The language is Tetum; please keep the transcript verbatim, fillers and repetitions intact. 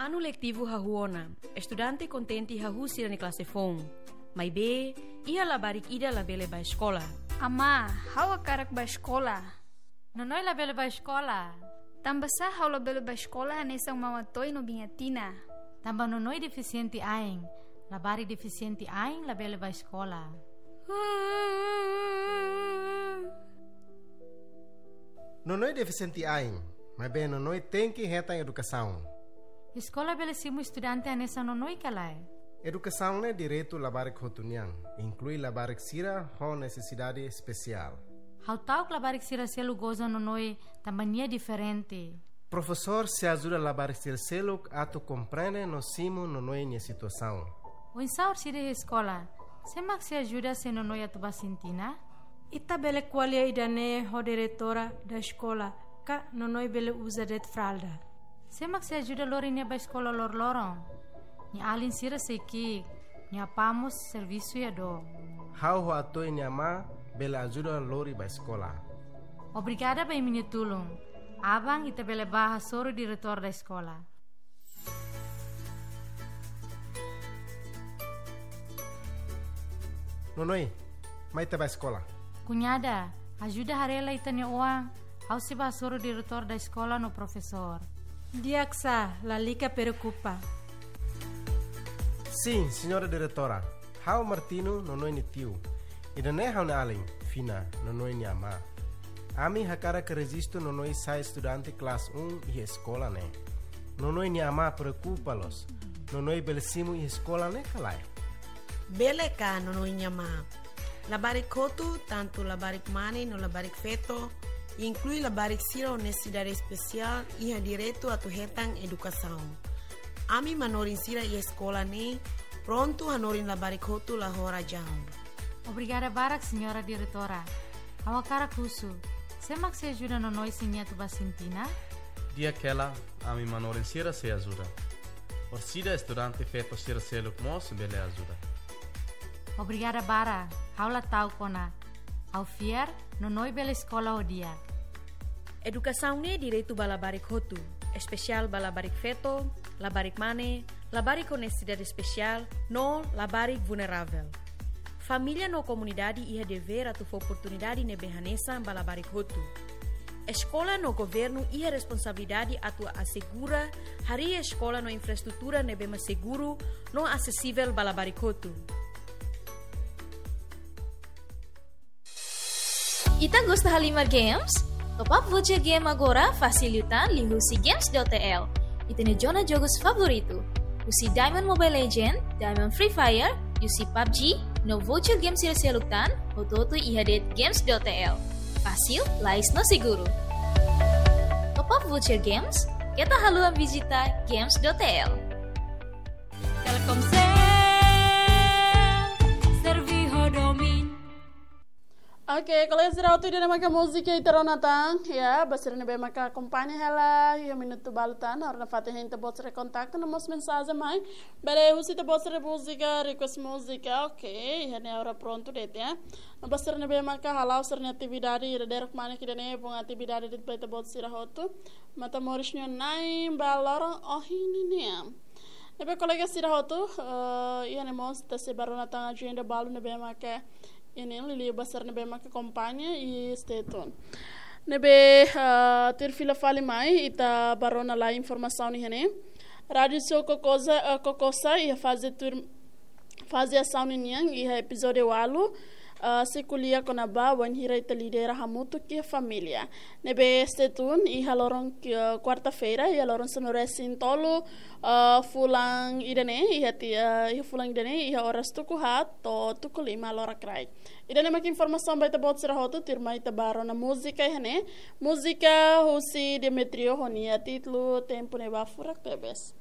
Anu letivu hahú ona, estudante kontente hahú sira-nia klase foun. Maibé, iha labarik ida labele bá eskola. Amá, ha'u hakarak bá eskola. Nonoi labele bá eskola. Tanbasá ha'u labele bá eskola hanesan Maun Atoy no Biin Atina? Tanba Nonoi defisiente ain. Labarik defisiente ain labele bá eskola. Nonoi defisiente ain, maibé Nonoi tenke hetan edukasaun. Eskola bele simu estudante hanesan Nonoi ka lae? Edukasaun ne'e direitu labarik hotu nian, inklui labarik sira ho nesesidade espesiál. Ha'u ta'uk labarik sira seluk goza Nonoi tanba nia diferente. Profesór sei ajuda labarik sira seluk atu komprende no simu Nonoi nia situasaun. Oinsá orsida iha eskola, sé mak sei ajuda se Nonoi atu bá sintina? Ita bele ko'alia ida-ne'e ho diretora da eskola, ka Nonoi bele uza de'it fralda. Sé mak sei ajuda lori nia bá eskola loroloron? Nia alin sira sei ki'ik, nia apá mós servisu iha dook. Ha'u ho Atoy nia amá bele ajuda lori bá eskola. Obrigada ba imi-nia tulun. Aban ita bele bá hasoru diretór da eskola. Nonoi, mai ita bá eskola. Kuñada, ajuda haree lai ita-nia oan, ha'u sei bá hasoru diretór da eskola no profesór. Di'ak sá, lalika preokupa. Sin, señora diretora. Ha'u Martino, Nonoi nia tiu. Ida-ne'e ha'u-nia alin, Fina, Nonoi nia amá. Ami hakarak rejistu Nonoi sai estudante klase um iha eskola ne'e. Nonoi nia amá preokupa loos. Nonoi bele simu iha eskola ne'e ka lae? Bele ka, Nonoi nia amá. Labarik hotu, tantu labarik mane no labarik feto, inklui labarik sira ho nesesidade espesiál, iha direitu atu hetan edukasaun. Ami manorin sira iha eskola ne'e prontu hanorin labarik hotu la ho razaun. Obrigada barak, señora diretora. Ha'u hakarak husu, sé mak sei ajuda Nonoi se nia atu bá sintina? Di'ak hela, ami manorin sira sei ajuda. Orsida estudante feto sira seluk mós bele ajuda. Obrigada barak, ha'u la ta'uk ona. Ha'u fiar, Nonoi bele eskola ho di'ak. Edukasaun ne'e direitu ba labarik hotu, espesiál ba labarik feto, labarik mane, labarik ho nesesidade espesiál, no labarik vulneravel. Família no komunidade iha devér atu fó oportunidade ne'ebé hanesan ba labarik hotu. Eskola no governu iha responsabilidade atu asegura harii eskola no infraestrutura ne'ebé mak seguru no asesivel ba labarik hotu. Ita gosta halimar games? Top up voucher game agora fasil liután liuhusi games dot T L. Ita-nia zona jogus favoritu. Husi Diamond Mobile Legend, Diamond Free Fire, husi pabg, no voucher game sira seluk tan, hotu-hotu iha de'it games dot T L. Fasil, lais no seguru. Top up voucher games, keta haluha vizita games dot T L. Telkomsel, servi ho domin. Oke, kolega sira, hotu ida-ne'e maka múzika ita rona tan, ya, ba sira ne'ebé maka akompaña hela, iha minutu balu tan, ha'u rona fatin hein ita-boot sira kontaktu, no mós mensajen mai, bele husu ita-boot sira múzika, request múzika, oke, iha ne'e agora prontu de'it, ya. No ba sira ne'ebé maka hala'o sira-nia atividade, ida-idak mane ke ida-ne'e, bom atividade de'it ba ita-boot sira hotu, Matamoros nia na'in ba loron ohin nian. Ne'ebé kolega sira hotu, eh, iha ne'e mós ita sei bá rona tan ajenda balu ne'ebé maka iha ne'e, liuliu ba sira ne'ebé maka akompaña i stay tune. Ne'ebé, eh, tuir fila fali mai, ita bá rona lai informasaun iha ne'e. Rádiu Sul Kokosa, eh, Kokosa, iha faze tuir, faze asaun ninian, iha epizódiu ualu, eh, sei ko'alia kona-ba wainhira ita lidera hamutuk iha família. Ne'ebé stay tune, iha loron ki-, eh, kuarta-feira, iha loron sanulu-resin-tolu, eh, fulan ida-ne'e, iha ti-, eh, iha fulan ida-ne'e, iha oras tuku haat to'o tuku lima loraik rai. Ida-ne'e maka informasaun ba ita-boot sira hotu, tuirmai ita bá rona múzika iha ne'e. Múzika husi Demetrio ho nia títulu Tempu Ne'ebá Furak Tebes.